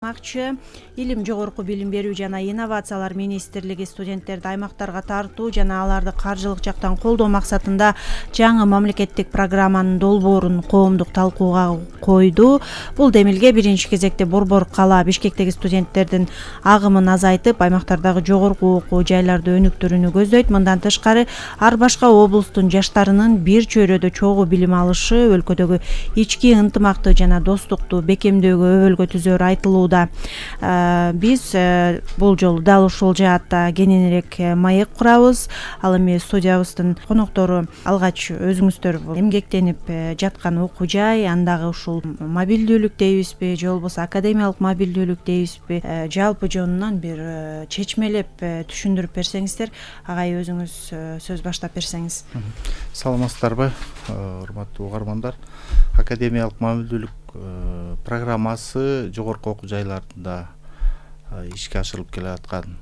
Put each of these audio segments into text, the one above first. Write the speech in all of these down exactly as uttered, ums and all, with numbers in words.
Макчы илим жогорку билим берүү жана инновациялар министрлиги студенттерди аймактарга тартуу жана аларды каржылык жактан колдоо максатында жаңы мамлекеттик программанын долбоорун коомдук талкууга койду. Бул демилге биринчи кезекте Борбор кала Бишкектеги студенттердин агымын азайтып, аймактардагы жогорку окуу жайларды өнүктүрүүнү көздөйт. Мындан тышкары ар башка облустун жаштарынын бир чөйрөдө чогуу билим алышы, өлкөдөгү ички ынтымакты жана достукту бекемдөөгө өбөлгө түзөөрү айтылууда. Биз бул жолу дал ушул жаатта кененирээк маек курабыз. Ал эми студиябыздын коноктору алгач өзүңүздөр эмгектенип жаткан окуу жай, андагы ушул мобилдүүлүк дейбизби же болбосо академиялык мобилдүүлүк дейбизби, жалпы жонунан бир чечмелеп түшүндүрүп берсеңиздер. Агай, өзүңүз сөз баштап берсеңиз. Саламатсыздарбы, урматтуу угармандар. Академиялык мобилдүүлүк программасы жогорку окуу жайларында ишке ашырылып келе аткан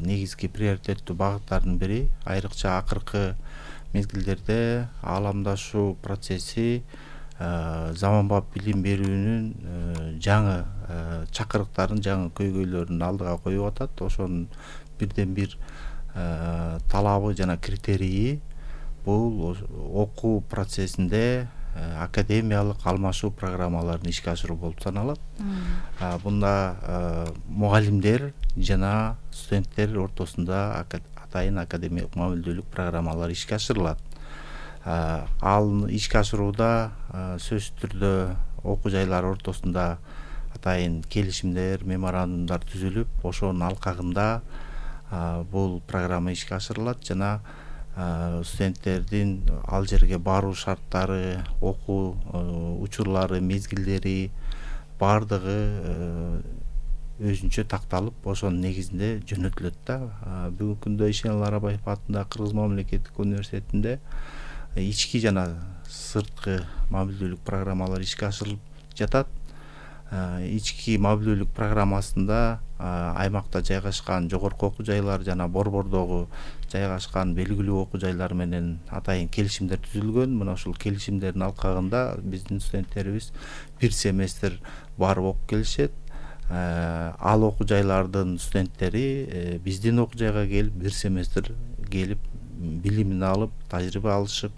негизги приоритеттүү багыттардын бири. Айрыкча акыркы мезгилдерде ааламдашуу процесси заманбап билим берүүнүн жаңы чакырыктарын, жаңы көйгөйлөрүн алдыга коюп атат. Ошонун бирден бир талабы жана критерийи бул окуу процессинде академиялык алмашуу программаларын ишке ашыруу болуп саналат. Бунда мугалимдер жана студенттер ортосунда атайын академиялык мобилдүүлүк программалары ишке ашырылат. Ал ишке ашырууда сөзсүз түрдө окуу жайлар ортосунда атайын келишимдер, меморандумдар түзүлүп, ошонун алкагында бул программа ишке ашырылат жана студенттердин ал жерге баруу шарттары, окуу учурлары, мезгилдери баардыгы өзүнчө такталып, ошонун негизинде жөнөтүлөт да. Бүгүнкү күндө Ишенали Арабаев атындагы Кыргыз мамлекеттик университетинде ички жана сырткы мобилдүүлүк программалары ишке ашырылып жатат. Ички мобилдүүлүк программасында аймакта жайгашкан жогорку окуу жайлар жана борбордогу жайгашкан белгилүү окуу жайлар менен атайын келишимдер түзүлгөн. Мына ушул келишимдердин алкагында биздин студенттерибиз бир семестр барып окуп келишет. Ал окуу жайлардын студенттери биздин окуу жайга келип, бир семестр келип, билимин алып, тажрыйба алышып,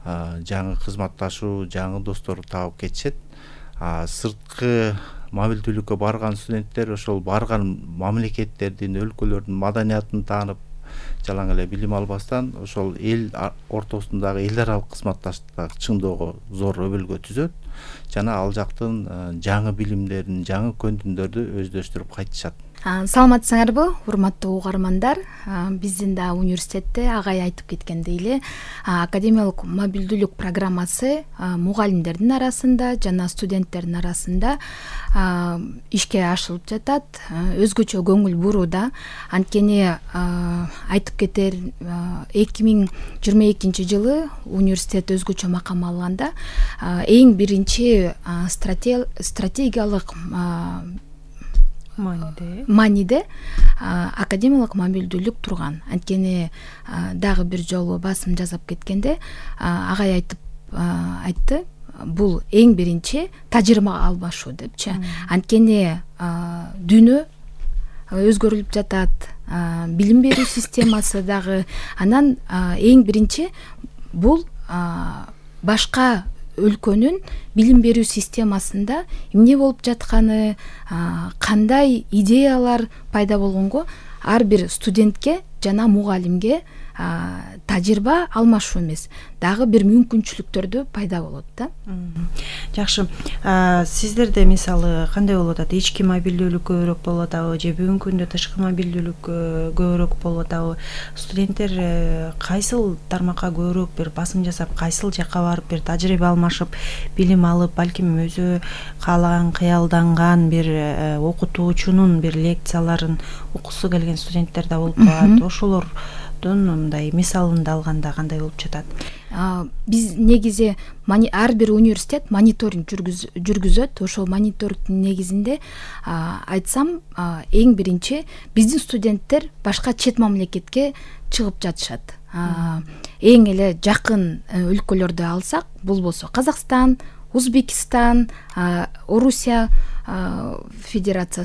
жаңы кызматташуу, жаңы достор таап кетишет. Сырткы мобилдүүлүккө барган студенттер ошол барган мамлекеттердин, өлкөлөрдүн маданиятын таанып, жалаң эле билим албастан ошол эл ортосундагы эл аралык кызматташтыкты чыңоого зор өбөлгө түзөт жана ал жактын жаңы билимдерин, жаңы көндүмдөрдү өздөштүрүп кайтышат. Саламатсыңарбы, урматтуу угармандар. Биздин да университетте агай айтып кеткендей эле академиялык мобилдүүлүк программасы мугалимдердин арасында жана студенттердин арасында ишке ашырылып жатат. Өзгөчө көңүл бурууда. Анткени айтып кетер, эки миң жыйырма экинчи жылы университет өзгөчө макам алганда эң биринчи стратегиялык Маниде, маниде академиялык мобилдүүлүк турган. Анткени дагы бир жолу басым жасап кеткенде агай айтып айтты, бул эң биринчи тажрыйба алмашуу депчи. Анткени дүйнө өзгөрүлүп жатат, билим берүү системасы дагы. Анан эң биринчи бул башка өлкөнүн билим берүү системасында эмне болуп жатканы, кандай идеялар пайда болгонго ар бир студентке жана мугалимге тажрыйба алмашуу эмес, дагы бир мүмкүнчүлүктөрдү пайда болот да. Жакшы. Сиздерде мисалы кандай болуп атат? Ички мобилдүүлүк көбүрөөк болуп атабы же бүгүнкү күндө тышкы мобилдүүлүк көбүрөөк болуп атабы? Студенттер кайсыл тармакка көбүрөөк бир басым жасап, кайсыл жакка барып бир тажрыйба алмашып, билим алып, балким өзү каалаган, кыялданган бир окутуучунун бир лекцияларын окугусу келген студенттер да болуп калат. Ошолордун мындай мисалын алганда кандай болуп жатат? Биз негизи ар бир университет мониторинг жүргүзөт. Ошол мониторингдин негизинде айтсам, эң биринчи биздин студенттер башка чет мамлекетке чыгып жатышат. Эң эле жакын өлкөлөрдү алсак, бул болсо Казакстан, Узбекистан, Орусия федерациясы